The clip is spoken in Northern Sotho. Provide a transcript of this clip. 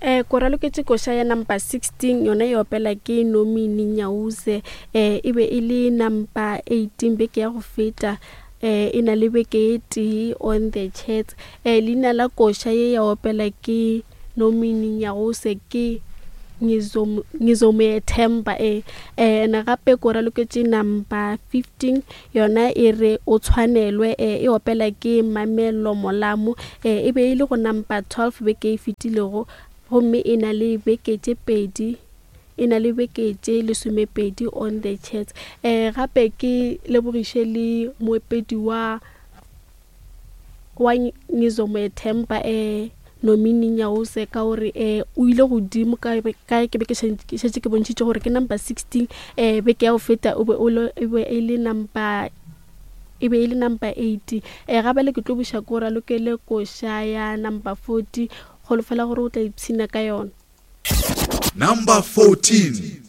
Eh, ko raloketše koša ya number 16 yona e opela ke Nomini Nyauze eh, e be e le number 18 beke ya go feta eh, e na le beke e tee on the chats eh, leina la koša ye ya opela ke Nomini Nyauze ke Ngizomuethemba e eh, ene gape ko raloketše number 15 Yona e re o tshwanelwe e, e opela ke Mamello Molamu e, e be e le go Nampa 12 beke e fetilego gomme e na le beke tše pedi e na le beke tše lesomepedi on the chats. E, gape ke lebogiše le moepedi wa wa Ngizomuethemba e Nomini Nyawose ka gore um o ile godimo ka ka ke be ke šetše ke bontšhitše gore ke number 16 um beke ya go feta o be o le e be e le number e be e le number 8 um gabale ke tlo buša ko ralokele koša ya number 40 kgolofela gore o tla ipshina ka yona. Number 14.